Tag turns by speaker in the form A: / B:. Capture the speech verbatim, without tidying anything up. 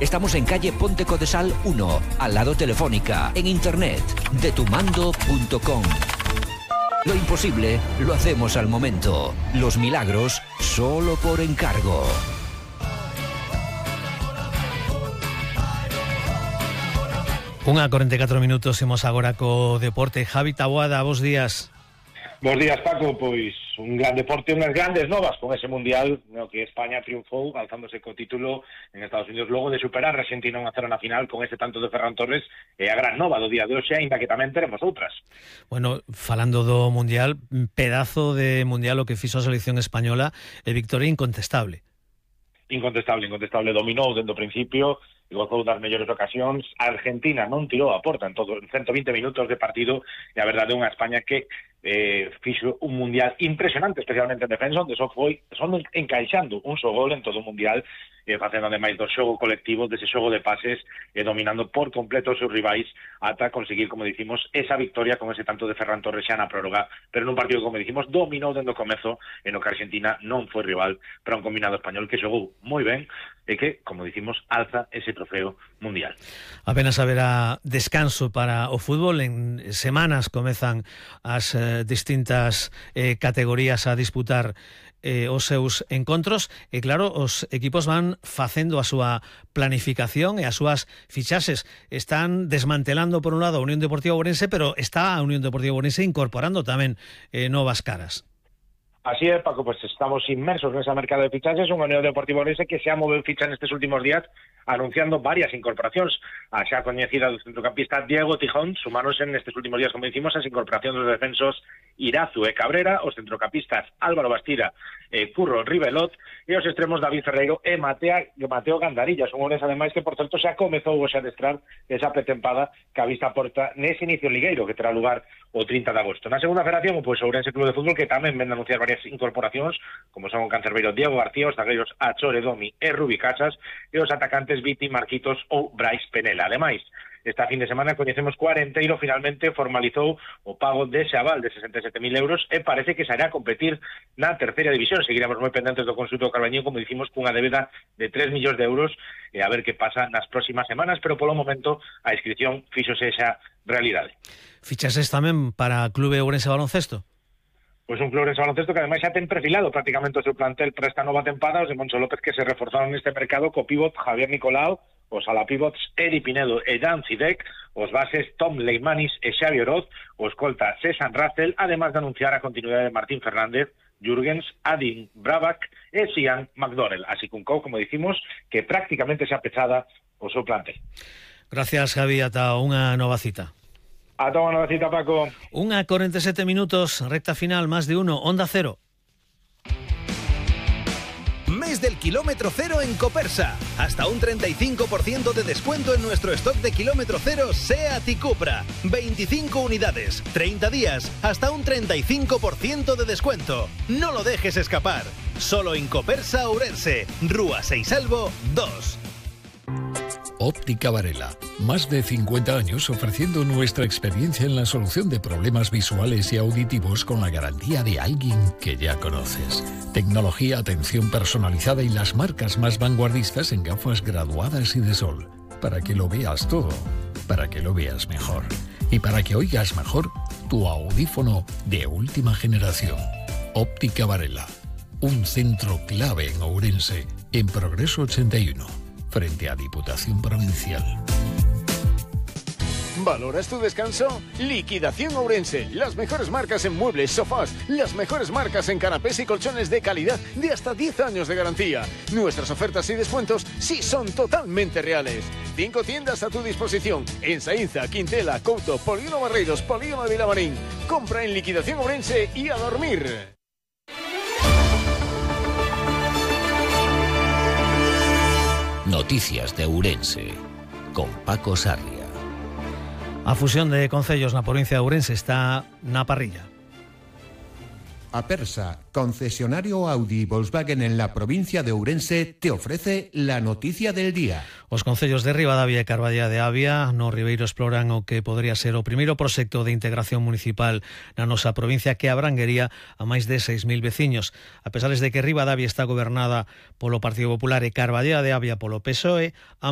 A: Estamos en calle Ponte Codesal uno, al lado Telefónica, en internet, detumando punto com. Lo imposible lo hacemos al momento. Los milagros solo por encargo.
B: Unha corenta e catro minutos, imos agora co deporte. Javi Taboada, bos días.
C: Bos días, Paco. Pois un gran deporte, unhas grandes novas con ese mundial no que España triunfou alzándose co título en Estados Unidos logo de superar a Argentina un a cero na final con ese tanto de Ferran Torres. E a gran nova do día de hoxe, aínda que tamén teremos outras.
B: Bueno, falando do mundial, pedazo de mundial o que fixo a selección española, e victoria incontestable.
C: Incontestable, incontestable, dominou dende o principio e gozou das mellores ocasións. A Argentina non tirou a porta en todo en ciento vinte minutos de partido e a verdade é unha España que eh, fixo un mundial impresionante, especialmente en defensa, onde só foi son encaixando un só gol en todo o mundial, eh, facendo ademais do xogo colectivo, dese xogo de pases, e eh, dominando por completo os seus rivais ata conseguir, como dicimos, esa victoria con ese tanto de Ferran Torres xa na prórroga, pero nun partido, como dicimos, dominou dende o comezo, en o que Argentina non foi rival para un combinado español que xogou moi ben e que, como dicimos, alza ese trofeo mundial.
B: Apenas haberá descanso para o fútbol. En semanas comezan as eh, distintas eh, categorías a disputar eh, os seus encontros e claro, os equipos van facendo a súa planificación e as súas fichaxes. Están desmantelando por un lado a Unión Deportiva Ourense, pero está a Unión Deportiva Ourense incorporando tamén eh, novas caras.
C: Así é, Paco, pues estamos inmersos nesa mercado de fichaxes, unha Unión Deportiva Ourense que se ha movido ficha nestes últimos días anunciando varias incorporacións. A xa coñecida do centrocampista Diego Tijón sumáronse nestes últimos días, como dicimos, as incorporacións dos defensos Irazu e Cabrera, os centrocampistas Álvaro Bastira e Curro Ribelot e os extremos David Ferreiro e Matea, Mateo Gandarilla. Son homes ademais que, por tanto, xa comezou hoxe a adestrar esa pretempada que a vista porta nese inicio ligueiro que terá lugar o trinta de agosto. Na segunda federación, pois, o Ourense Club de Fútbol, que tamén ven a anunciar varias incorporacións, como son o cancerbeiro Diego García, os zagueiros Achore Domi e Rubi Casas, e os atacantes Viti Marquitos ou Brais Penela. Ademais, esta fin de semana coñecemos que o Arenteiro finalmente formalizou o pago dese aval de sesenta e sete mil euros e parece que sairá a competir na terceira división. Seguiremos moi pendentes do consulto do Carbañín, como dicimos, cunha débeda de tres millóns de euros e a ver que pasa nas próximas semanas, pero polo momento a inscripción fíxose esa realidade.
B: Fichases tamén para Clube Ourense Baloncesto?
C: Pois un Clube Ourense Baloncesto que ademais xa ten perfilado prácticamente o seu plantel para esta nova tempada, os de Moncho López, que se reforzaron neste mercado co pívot Javier Nicolau, os alapivots Eri Pinedo e Jan Cidek, os bases Tom Leimanis e Xavi Oroz, o escolta César Russell, además de anunciar a continuidade de Martín Fernández, Jürgens, Adin Brabak e Sian McDonnell. Así que un co, como dicimos, que prácticamente xa pechada o seu plantel.
B: Gracias, Javi, ata unha nova cita.
C: Ata unha nova cita, Paco.
B: Unha corenta e sete minutos, recta final, más de uno, Onda Cero.
D: Mes del kilómetro cero en Copersa. Hasta un treinta y cinco por ciento de descuento en nuestro stock de kilómetro cero SEAT y Cupra. veinticinco unidades, treinta días, hasta un treinta y cinco por ciento de descuento. No lo dejes escapar. Solo en Copersa Ourense, Rúa Seisalvo dos.
E: Óptica Varela. Más de cincuenta años ofreciendo nuestra experiencia en la solución de problemas visuales y auditivos con la garantía de alguien que ya conoces. Tecnología, atención personalizada y las marcas más vanguardistas en gafas graduadas y de sol. Para que lo veas todo, para que lo veas mejor. Y para que oigas mejor tu audífono de última generación. Óptica Varela. Un centro clave en Ourense, en Progreso ochenta y uno. Frente a Diputación Provincial.
F: ¿Valoras tu descanso? Liquidación Ourense. Las mejores marcas en muebles, sofás. Las mejores marcas en canapés y colchones de calidad de hasta diez años de garantía. Nuestras ofertas y descuentos sí son totalmente reales. Cinco tiendas a tu disposición. En Saínza, Quintela, Couto, Polígono Barreiros, Polígono de Vilamarín. Compra en Liquidación Ourense y a dormir.
A: Noticias de Ourense, con Paco Sarria.
B: A fusión de concellos na provincia de Ourense está na parrilla.
G: Apersa, concesionario Audi y Volkswagen en la provincia de Ourense, te ofrece la noticia del día.
B: Os concellos de Ribadavia e Carballeda de Avia no Ribeiro exploran o que podría ser o primeiro proxecto de integración municipal na nosa provincia que abranguería a máis de seis mil veciños. A pesar de que Ribadavia está gobernada polo Partido Popular e Carballeda de Avia polo P S O E, ambos